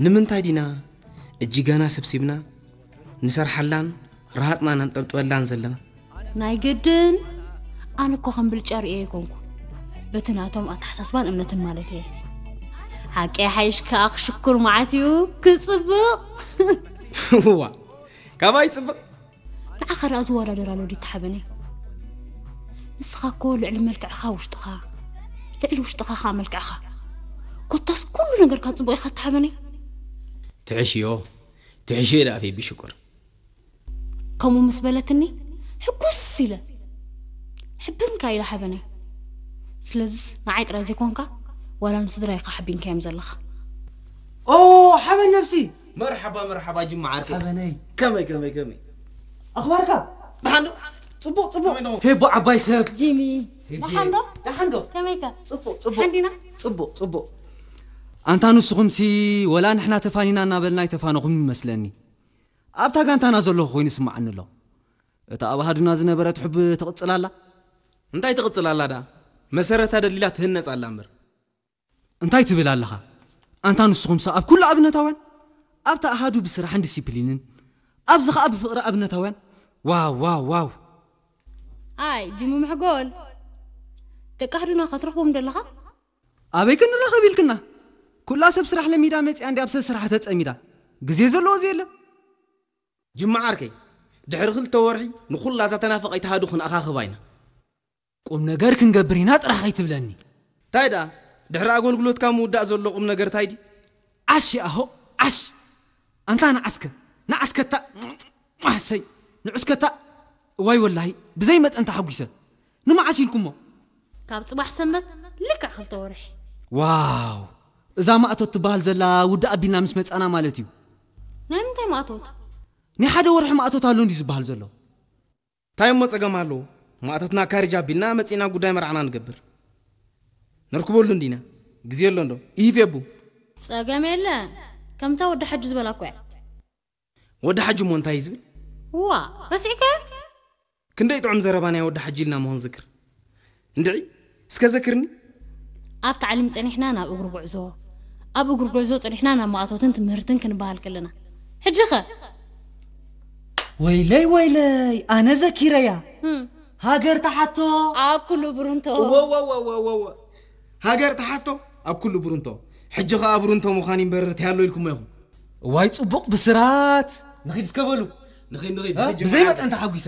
ንምንታይ ዲና እጅጋና ሰብሲብና ንሰርሓላን ረሃጽና ነንጠብጥበላን ዘለና? ናይ ግድን ኣነ እኮ ከም ብልጫ ርእየ ኣይኮንኩ፣ በቲ ናቶም ኣተሓሳስባን እምነትን ማለት እየ። ሓቂ ሓይሽ ከኣ ክሽኩር መዓት እዩ ክጽብቕ። ዋ፣ ካባይ ጽብቕ። ንዓኻ ደኣ ዝወዳደር ኣሎ ድዩ ተሓበነይ? ንስኻ እኮ ልዕሊ መልክዕኻ ውሽጥኻ፣ ልዕሊ ውሽጥኻ ኸኣ መልክዕኻ። ኮታስ ኩሉ ነገርካ ጽቡቕ ኢኻ ተሓበነይ። ትሕሽዮ፣ ትሕሽዮ ደኣ ፌቢ ሽኮር። ከምኡ ምስ በለትኒ ሕጉስ ኢለ፣ ሕብንካ ኢለ ሓበነይ። ስለዚስ ንዓይ ጥራይ ዘይኮንካ ዋላ ንስድራይ ኢኻ ሓቢንካዮም ዘለኻ። ኦ ሓበን ነብሲ መርሓባ መርሓባ ጅማ ዓርከይ። ሓበነይ ከመይ ከመይ ከመይ? ኣኽባርካ ደሓን ዶ? ጽቡቕ ጽቡቕ። ፌቦ ዓባይ ሰብ። ጂሚ ደሓን ዶ? ደሓን ዶ? ከመይከ? ጽቡቕ ጽቡቕ። ሓንዲና? ጽቡቕ ጽቡቕ። ኣንታ ንስኹምሲ ወላ ንሕና ተፋኒና እናበልና ኣይተፋነኹም ይመስለኒ። ኣብታ ጋንታና ዘለኹ ኮይኑ ይስምዓኒ ኣሎ። እታ ኣብ ኣሃዱና ዝነበረት ሑብ ትቕጽል ኣላ። እንታይ ትቕጽል ኣላ ደኣ? መሰረታ ደሊላ ትህነጽ ኣላ እምበር። እንታይ ትብል ኣለኻ? ኣንታ ንስኹምሲ ኣብ ኩሉ ኣብነታውያን፣ ኣብታ ኣሃዱ ብስራሕን ዲሲፕሊንን፣ ኣብዚ ኸኣ ብፍቕሪ ኣብነታውያን። ዋው ዋው ዋው። ኣይ ጅሙ ምሕጎል፣ ደቂ ኣሃዱና ከትረኽቦም ደለኻ? ኣበይ ክንራኸብ ኢልክና? ኩላ ሰብ ስራሕ ለሚዳ መጺኣ እንዲ ኣብ ሰብ ስራሕ ተጸሚዳ። ግዜ ዘለዎ እዚ የለን። ጅማ ዓርከይ፣ ድሕሪ ክልተ ወርሒ ንኹላ እዛ ተናፈቐይት ኣሃዱ ክንኣኻኽባ ኢና። ቁም ነገር ክንገብር ኢና ጥራሕ ኣይትብለኒ። እንታይ ደኣ? ድሕሪ ኣገልግሎትካ ምውዳእ ዘሎ ቁም ነገር እንታይ ድዩ? ዓሽ ኣሆ ዓሽ። ኣንታ ንዓስከ ንዓስከታ ዓሰይ ንዑስከታ። ዋይ ወላሂ ብዘይ መጠን ተሓጒሰ። ንመዓስ ኢልኩሞ? ካብ ጽባሕ ሰንበት ልክዕ ክልተ ወርሒ። ዋው፣ እዛ ማእቶት ትበሃል ዘላ ውድእ ኣቢልና ምስ መጻና ማለት እዩ። ናይ ምንታይ ማእቶት? ናይ ሓደ ወርሒ ማእቶት ኣሎ እንዲዩ ዝበሃል ዘሎ። እንታይ እሞ ጸገም ኣለዎ? ማእቶትና ካሪጅ ኣቢልና መጺና ጉዳይ መርዓና ንገብር። ነርክበሉ እንዲና። ግዜ ኣሎ እንዶ? ኢሂፍ የቡ። ጸገም የለን። ከምታ ወዲ ሓጂ ዝበላ እኮ እያ። ወዲ ሓጂ እሞ እንታይ እዩ ዝብል? ዋ፣ ረሲዕከ? ክንደይ ጥዑም ዘረባ ናይ ወዲ ሓጂ ኢልና እሞ ክንዝክር። እንድዒ፣ እስከ ዘክርኒ። ኣብ ታዕሊም ጸኒሕና ናብ እግሪ ጉዕዞ፣ ኣብ እግሪ ጉዕዞ ጸኒሕና ናብ ማእቶትን ትምህርትን ክንበሃል ከለና። ሕጂኸ? ወይለይ ወይለይ፣ ኣነ ዘኪረያ። ሃገር ተሓቶ። ኣብ ኩሉ ብሩንቶ። ወወወወወወ። ሃገር ተሓቶ ኣብ ኩሉ ብሩንቶ። ሕጂ ኸኣ ብሩንቶ ምዃን ይንበር ትያሎ ኢልኩሞ ኢኹም። እዋይ ጽቡቕ ብስራት። ንኺድ እስከ በሉ። ንኺድ ንኺድ። እ? ንኺድ ጅምዓ። ብዘይ መጠን ተሓጒሰ።